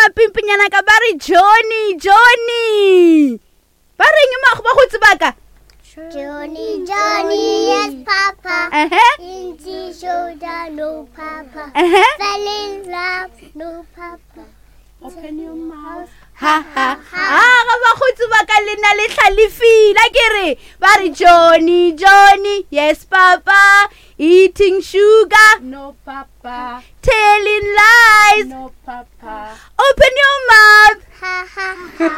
mapimpinyana ka ba re Johnny, Johnny. Ba reng bakgotsi ba ka? Johnny, Johnny, yes, Papa. Uh-huh. Inchi shoulder, no, Papa. Uh-huh. Fell in love, no, Papa. Open your mouth. Ha ha. Ah, ga bakgotsi ba ka le na le hlalefile a ke re ba re Johnny, Johnny, yes, Papa. Eating sugar, No, Papa. telling lies. No, Papa. Open your mouth. Ha ha ha.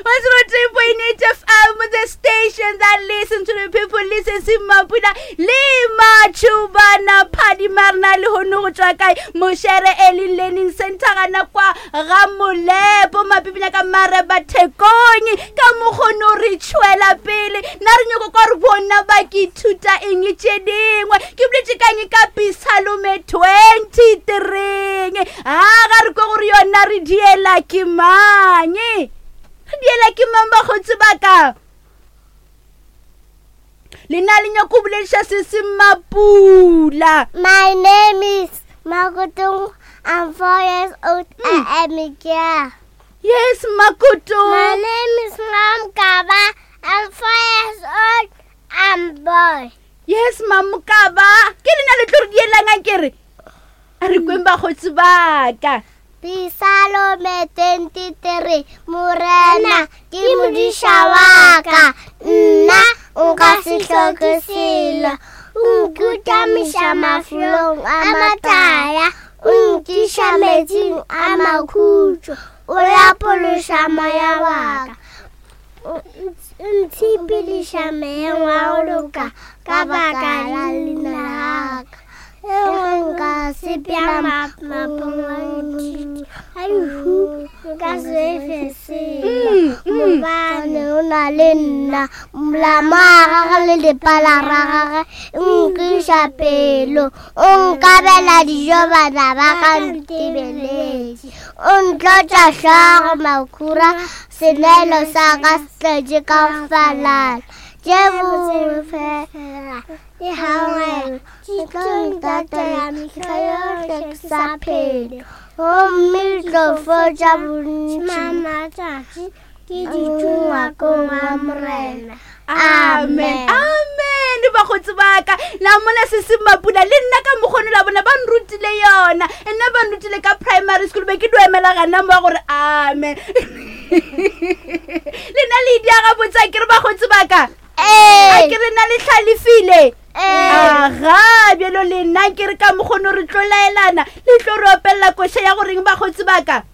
103.8 FM, the station that listens to the people, listen se Mapula le Machubana Phadimarna le hono go tswa kae Moshere Early Learning Center gana kwa ga Molepo Mapipinya ka Mareba Thekong ka mokgono re tšhwela pele na re nyoko kwa re bona ba ke ithuta eng tše dingwe ke boletše kang ka Pisalome 23 a ga re kwe gore yona re diela ke mang re diela ke mang bakgotsi ba ka lena le nyako bolediša se se mapula My name is Makutung. I'm 4 years old. I am a girl. Yes, Makutung. My name is Mamkaba. I'm 4 years old. I'm boy. Yes, Mamkaba. Ke lena le tlo re dielang a ke re? A re kweng bakgotsi ba ka. Pisalome 23, Morena ke modiša wa ka, nna nka se hloke selo. O nkutamiša mafelong a matala, o nkiša metsing a makhutšo, o lapološa moya wa ka. O ntshepediša moyeng wa go loka ka baka la leina la ka. Ge nka sepela mapong a ntšhitšhi a lehu, nka se fe selo, gobane o na le nna. Molamo wa gagwe le lepala la gagwe e nkiša pelo. O nkabela dijo bana ba ka ntebeletše. O ntlotša hlogo makhura, senwelo sa ka se tletše ka go falala. Tše bose fela di gangwela, di tlo ntatela mehla yohle ke sa phele, gomme di tlo fotša bontši matšatši ke dutše ngwakong wa Morena. Amen. Amen. Bakgotsi ba ka. La mona se se mapula le nna ka mokgono la bona ba nrutile yona. Nna ba nrutile ka primary school be ke do emela gana mo gore amen. Le nna le dia ga botsa ke re bakgotsi ba ka. Ee. A ke re na le hlalefile. Ee. Aga, bjalo le nna ke re ka mokgono re tlo laelana. Le tlo re opelela koša ya goreng bakgotsi ba ka.